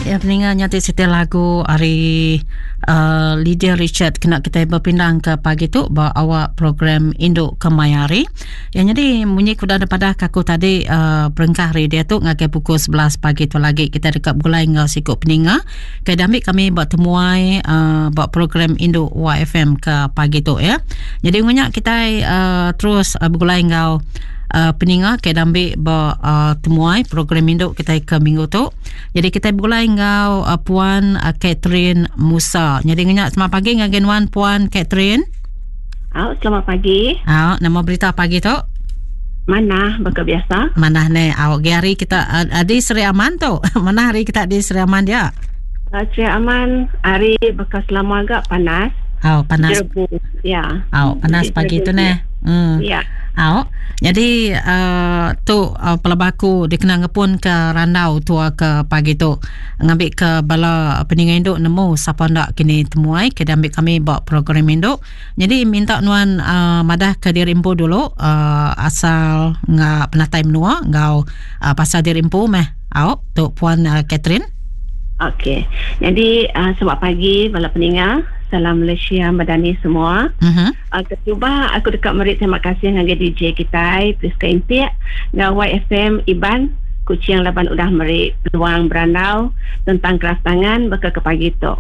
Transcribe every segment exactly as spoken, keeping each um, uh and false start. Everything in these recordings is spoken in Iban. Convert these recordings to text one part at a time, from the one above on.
Ya, peninga nyati siti lagu hari uh, Lydia Richard kena kita berpindang ke pagi tu ba awak program Induk Kemayari. Yang jadi munyi kuda daripada aku tadi uh, berengkah hari dia tu ngagai pukul sebelas pagi tu lagi kita dekat gulai ngau sikuk peninga. Ke ambil kami buat temuai uh, buat program Induk Y F M ke pagi tu ya. Jadi ngunya kita uh, terus uh, bergulai ngau Uh, peninga ke ambil ba uh, temuai program induk kita ke minggu tu. Jadi kita bergulai ngau uh, Puan uh, Catherine Musa. Jadi ngenyak selamat pagi dengan Genwan Puan Catherine. Oh, selamat pagi. Ah, nama berita pagi tu? Mana baka biasa? Mana ne awak hari kita uh, di Seri Aman tu. Mana hari kita di Seri Aman dia? Uh, Seri Aman hari bekas lama agak panas. Oh, panas. Jerebu. Ya. Oh, panas pagi tu ne. Hmm. Ya. Oh, jadi uh, tu uh, pelabaku dikena ngepun ke randau tua ke pagi tu ngambil ke bala peninga induk nemu siapa ndak kini temuai ke ambil kami buat program induk. Jadi minta nuan uh, madah ke diri empu dulu uh, asal nga penatai menua ngau uh, pasal diri empu meh. Oh, tu Puan uh, Catherine. Okey. Jadi uh, selamat pagi bala peninga. Salam Malaysia Madani semua. Uh-huh. Uh, kecuba aku dekat merik terima kasih dengan D J kita Priska Intik dengan Y F M Iban Kuching laban udah merik peluang berandau tentang keras tangan bakal ke pagi tu.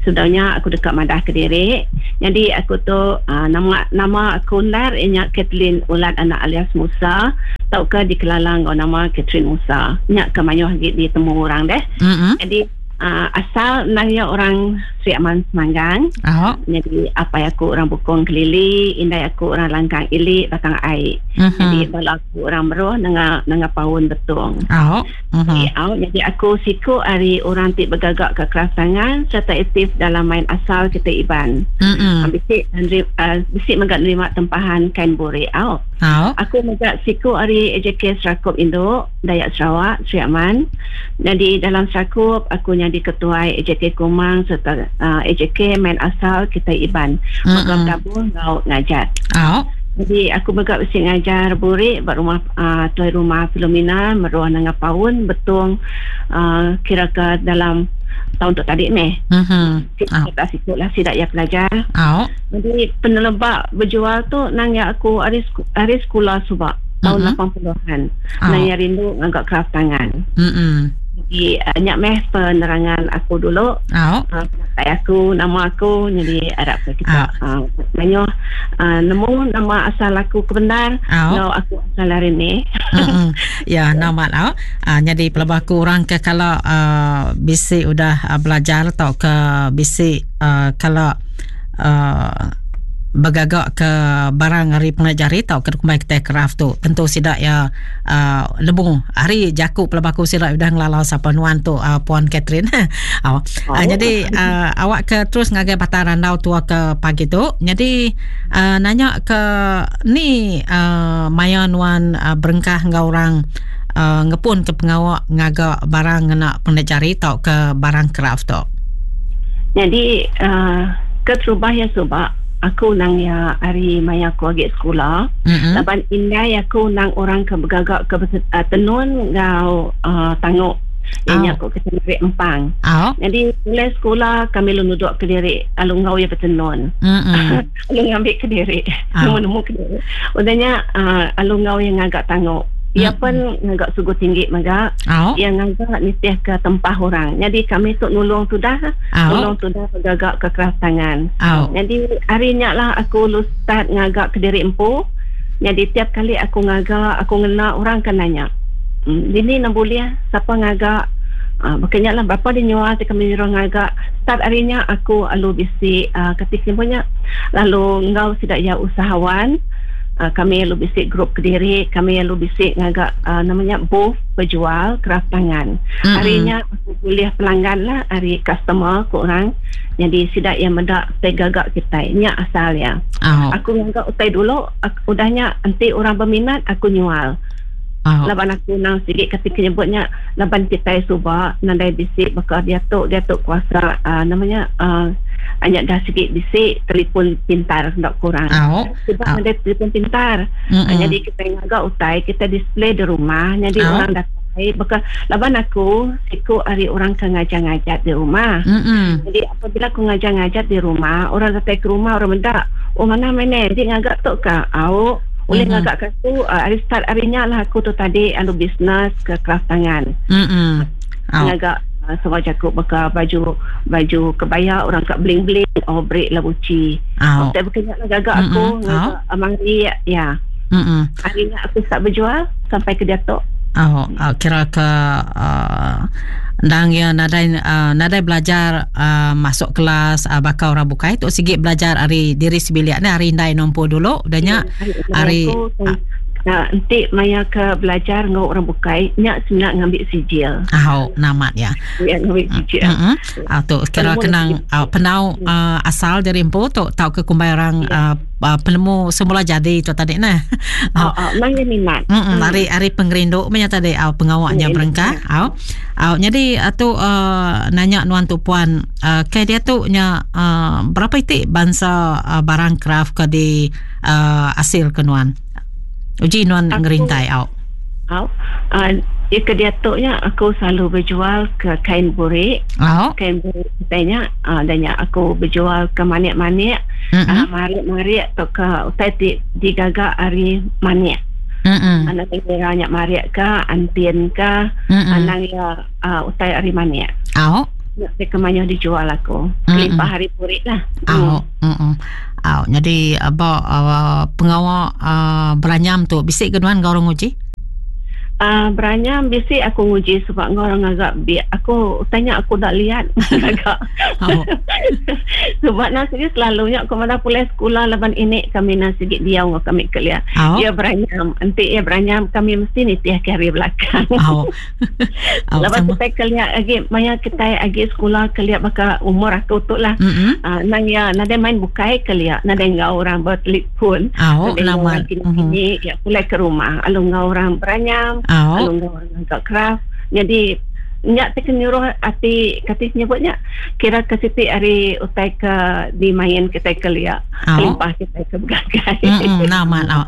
Sudahnya aku dekat madah ke diri. Jadi aku tu uh, nama nama aku nar inya Kathleen Ulat anak alias Musa tauka dikelala ngau nama Catherine Musa. Nyak ke mayuh gi ditemu orang deh. Uh-huh. Jadi Uh, asal naya orang Sri Aman Semanggang. Oh. Jadi apa aku orang Bukong Kelili, indai aku orang Langkang Ili, Batang Ai. Uh-huh. Jadi bala aku orang Meruh nengah nengah Paun Betung. Oh. Uh-huh. Jadi, oh, jadi aku siku hari orang ti bergagak ke keras tangan serta aktif dalam main asal kita Iban. Uh-huh. Bisik uh, bisik megak nerima tempahan kain bore. Oh. Oh. Aku megak siku hari A J K Serakup Induk Dayak Sarawak Sri Aman. Jadi dalam Serakup aku jadi ketua A J K Kumang serta uh, A J K main asal kita Iban. Megam tabung ngau ngajar. Oh. Jadi aku megak besi ngajar burik buat rumah uh, tuai rumah Filomena meruah nangga paun betung uh, kira ke dalam tahun tu tadi ni. Mhm. Uh-huh. Kita sikit lah sidak ya pelajar. Oh. Jadi penelebak berjual tu nang ya aku hari hari sekolah subak tahun uh-huh. lapan puluhan. Oh. Nang ya rindu ngagak keraf tangan. Mhm. Jadi uh, nyak meh penerangan aku dulu. Oh. Uh, aku nama aku jadi Arab kita. Oh. Uh, manyo uh, nemu nama asal aku kebenar. Oh. No, aku asal hari ni. Mm-hmm. Ya, nama lau. Uh, jadi pelabaku orang ke kalau uh, bisi udah uh, belajar atau ke bisi uh, kalau uh, bergagak ke barang hari pengajari tau ke kumai kita craft tu tentu sidak ya uh, lebung hari jakuk pelabaku sidak udah ngelalau sapa nuan tu uh, Puan Catherine. oh. Oh. Uh, jadi uh, awak ke terus ngagai batar randau tua ke pagi tu. Jadi uh, nanya ke ni uh, maya nuan uh, berengkah ngau orang uh, ngepun ke pengawak ngagak barang ngena pengajari tau ke barang craft tu. Jadi uh, keterubah ya subak aku nang ya hari maya aku agak sekolah. Mm-hmm. Laban indai aku nang orang ke bergagak ke uh, tenun ngau uh, tanguk. Ini oh. aku ke diri empang. Oh. Jadi mulai sekolah kami lu duduk ke diri, alu ngau ya bertenun. Mm-hmm. Alu ngambil ke diri. Oh. Nemu-nemu ke diri. Udahnya uh, alu ngau yang ngagak tanguk. Ia pun ngagak sugu tinggi maga. Oh. Yang ngagak nitih ke tempah orang. Jadi kami tu nulung sudah, oh. nulung sudah gagak ke keras tangan. Oh. Jadi harinya lah aku lu start ngagak ke diri empu. Jadi tiap kali aku ngagak, aku ngena orang kan nanya. Hmm, ini nak boleh siapa ngagak? Ah, makanya lah berapa dia nyual kami nyuruh ngagak. Start harinya aku alu bisi uh, ketika punya lalu ngau tidak ya usahawan. Uh, kami lu bisik grup kediri, kami lu bisik ngagak uh, namanya booth berjual keraf tangan. Mm-hmm. Harinya aku boleh pelanggan lah, hari customer ku orang. Jadi sidak yang mendak utai gagak kita. Nya asal ya. Oh. Aku ngagak utai dulu, aku, udahnya nanti orang berminat aku nyual. Oh. Laban aku nang sikit ketika nyebutnya laban kita subak nandai bisik bakal dia tu dia tu kuasa uh, namanya uh, hanya dah sikit bisik telefon pintar nak kurang. Oh. Sebab oh. ada telefon pintar. Mm-mm. Jadi kita ngagak utai kita display di rumah jadi oh. orang datang bukai baka laban aku siku ari orang ke ngajar-ngajat di rumah. Mm-mm. Jadi apabila aku ngajar-ngajat di rumah, orang datang ke rumah orang mendak, oh mana mana dia ngagak tu ka? Au, boleh Mm-mm. ngagak ke aku uh, hari start harinya lah aku tu tadi anu bisnes ke craft tangan. Mm-mm. Au. Ngagak uh, semua jaku baka baju baju kebaya orang kat bling-bling oh break lah buci. Au. Tak berkenyak lah gagak aku Mm-mm. ngagak amari ya. Mm-mm. Harinya aku start berjual sampai ke diatok. Oh, uh, kira ke uh, ndang ya nadai uh, nadai belajar uh, masuk kelas uh, bakal orang bukai tu sikit belajar hari diri sebilik ni hari ndai nompo dulu danya hari aku nah, nanti maya ke belajar ngau orang bukai nyak sebenarnya ngambil sijil. Ah, namat ya. Ya ngambil sijil. Heeh. Ah tu kira kenang uh, penau uh, asal dari empu tu tau ke kumbai orang uh, uh, penemu semula jadi tu tadi nah. Oh, oh, maya minat. Mm-mm, hari hari pengerindu punya tadi au pengawaknya berengkah au. Au jadi tu uh, nanya nuan tu puan uh, ke dia tu nya uh, berapa itik bangsa uh, barang craft ke di uh, hasil ke nuan? Uji nuan ngerintai au. Au. Uh, ya ke dia tu nya aku selalu berjual ke kain burik. Au. Kain burik katanya uh, dan nya aku berjual ke manik-manik, mm-hmm. uh, marik-marik atau ke utai di digagak hari manik. Mm-mm. Anak kira nyak marik ke antin ke anang ya uh, utai hari manik. Au. Nak ke mana dijual aku. Kelimpah hari burik lah. Au. Mm. Au. Jadi apa uh, pengawak uh, beranyam tu bisik ke nuan kau orang uji? Uh, beranyam bisik aku nguji sebab kau orang agak bi aku tanya aku tak lihat agak. Oh. Sebab nasi selalunya aku mana pulai sekolah laban ini kami nasi dia ngau kami kelia. Oh. Dia beranyam, nanti dia beranyam kami mesti nitih ke hari belakang. Oh. Oh, Lepas kita kelia lagi maya kita lagi sekolah kelia baka umur aku tu lah. Mm-hmm. Uh, nang ya nada main bukai kelia, nada ngau orang bertelefon. Oh, lama. Ini ya pulai ke rumah, alu ngau orang beranyam. Oh. Alu ngau orang agak craft. Jadi nyak te nyuruh ati kati nyebutnya kira ke siti hari utai ke dimain kita kelia oh. Limpah kita ke begagai. Mm-mm, nama oh.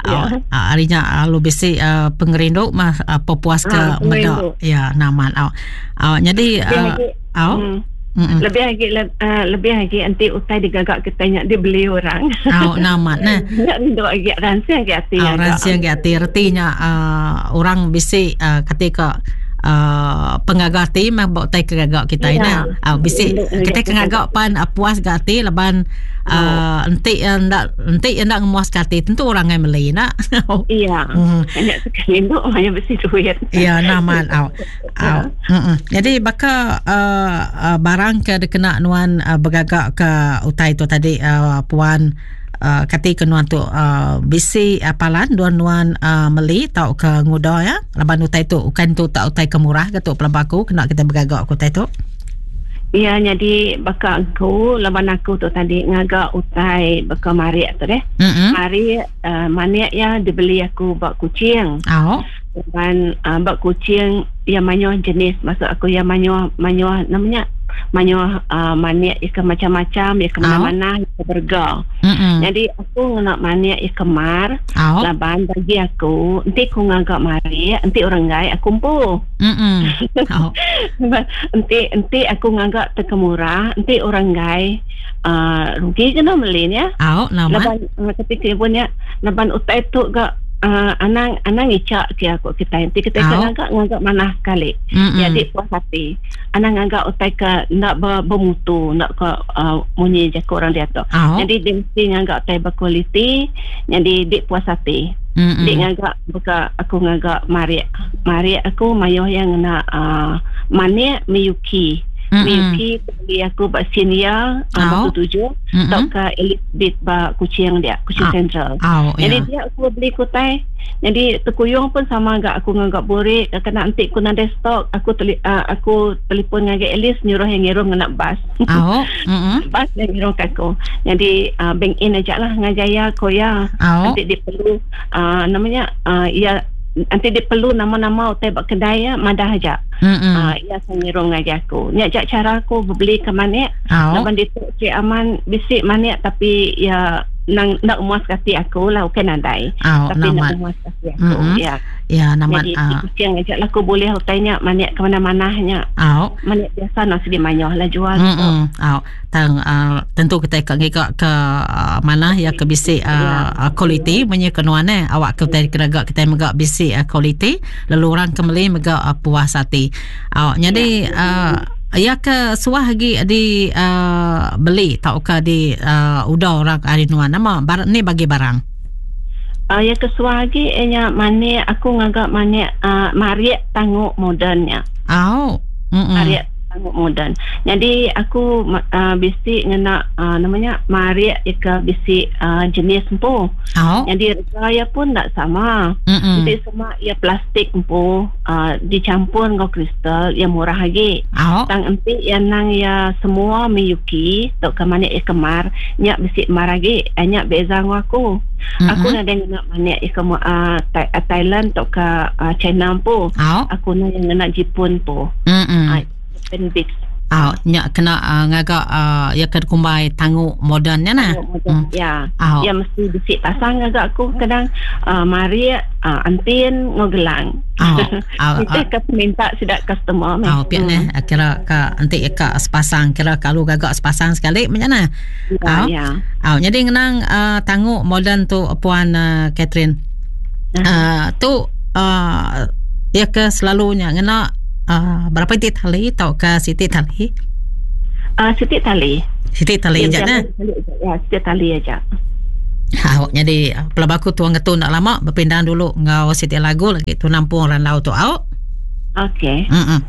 Ya. Oh, harinya lalu bisi uh, pengerindu mah uh, pepuas ke ah, medak ya nama oh. Oh, jadi uh, oh. Mm. Mm-mm. Lebih lagi uh, lebih lagi nanti utai digagak kita nyak dibeli orang. Oh, nama nah. Nyak ndok lagi ransiang ke ati. Oh, ransiang ke ati artinya uh, orang bisi uh, ketika Uh, pengagak ati mah bawa tai kegagak kita ya. Ina. Uh, bisi kita kegagak pan uh, puas gak ati laban uh, entik ndak entik ndak ngemuas ke ati tentu orang yang beli nak. Iya. Banyak sekali ndok hanya besi duit. Iya, naman au. Au. Mm-mm. Jadi baka uh, uh, barang ke dikena nuan uh, bergagak ke utai tu tadi uh, puan Uh, kati ke nuan tu uh, bisi apalan duan nuan uh, meli tau ke nguda ya laban utai tu bukan tu tak utai ke murah ke tu pelabaku kena kita bergagak ke utai tu. Ya jadi baka aku laban aku tu tadi ngagak utai baka marik tu deh. Mm-hmm. Marik uh, manik ya dibeli aku bak kucing. Oh. Laban uh, bak kucing yang manyoh jenis maksud aku yang manyoh manyoh namanya manyoh uh, manik ikan macam-macam ikan mana-mana ikan berga. Mm-mm. Jadi aku nak manik ikan mar. Oh. Laban bagi aku nanti aku ngagak marik nanti orang gai aku empu. Oh. Nanti nanti aku ngagak terkemurah nanti orang gai uh, rugi kena beli ya. Oh, nama. Laban uh, ketika pun ya laban utai tu gak Uh, anang anang icak ke aku kita nanti kita oh. ngagak ngagak mana sekali. Mm-mm. Jadi puas hati. Anang ngagak utai ke nak ber, bermutu, nak ke uh, munyi je orang dia tu. Oh. Jadi dia mesti ngagak utai berkualiti, jadi dia puas hati. Mm-mm. Dia ngagak buka aku ngagak marik. Marik aku mayoh yang nak uh, manik Miyuki. Mm-mm. Miyuki beli aku bak Sinia Oh. batu tujuh Mm-mm. atau ke Elizabeth bak kucing dia, kucing Ah. Central. Oh, Jadi ya. dia aku beli kutai. Jadi terkuyung pun sama agak aku ngagak burik, kena antik ku nada stok, aku teli, uh, aku telefon ngagai Alice nyuruh yang ngirum ngena bas. Oh. Mm-mm. Bas yang ngirum ke aku. Jadi uh, bank in aja lah ngajaya koya. Oh. Nanti dia perlu uh, namanya uh, ya nanti dia perlu nama-nama utai bak kedai ya madah aja. Mm-mm. Uh, ya saya ngirum ngagai aku. Ni ajak cara aku beli ke manik. Oh. Laban dia tu Cik Aman bisik manik tapi ya Nang nak muas kati aku lah bukan nadai. Oh, tapi nak muas kati aku. Mm-hmm. Ya. Ya, namat. Jadi uh. kucing aja lah aku boleh utainya manik ke mana-mananya. Oh. Manik biasa nak sedih mayah lah jual. Mm-mm. Oh. Tang uh, tentu kita ke ngigak ke uh, mana ya ke bisi uh, ya. Kualiti menye kenuan eh awak ke kita kena kita megak bisi uh, kualiti lalu orang ke meli megak uh, puas hati. Oh, jadi ya. Uh, ya ke suah lagi di uh, beli tau ke di uh, udah orang hari nuan nama bar, ni bagi barang. Uh, ya ke suah lagi nya manik aku ngagak manik uh, mariak tanguk modernnya. Oh. Mm-mm. Mariak tanguk moden. Jadi aku uh, bisi ngena uh, namanya mariak ya ke bisi uh, jenis empu. Oh. Jadi rasa pun tak sama. Mm-mm. Jadi semua ya plastik empu uh, dicampur dengan kristal yang murah lagi. Oh. Tang enti yang nang ya semua Miyuki tok ke manik ya kemar nyak bisi mar lagi nyak beza dengan aku. Mm-hmm. Aku nak ngena manik ya ke uh, Thailand tok ke uh, China empu. Oh. Aku nak yang ngena Jepun empu. Mm-mm. Uh, Big. Ah, oh, nyak kena uh, ngagak uh, ya ke kumbai tanguk modernnya nah. Modern. Mm. Ya. Oh. Ya mesti bisik pasang ngagak aku kadang uh, mari uh, antin ngogelang. Oh. Oh. Kita ke minta sidak customer. Oh, piak neh kira ka antik ka sepasang kira kalau gagak sepasang sekali macam mana? Ya, Oh. ya. Oh, jadi ngenang uh, tanguk moden tu puan uh, Catherine. Uh-huh. Uh, tu uh, ya ke selalunya ngena Uh, berapa titik tali atau ke sitik tali? Uh, sitik tali. Sitik tali je nah. Ya, sitik tali aja. Ha, jadi pelaba aku tuang ngetu nak lama berpindah dulu ngau sitik lagu lagi tu nampung randau tu au. Okey. Mm-mm.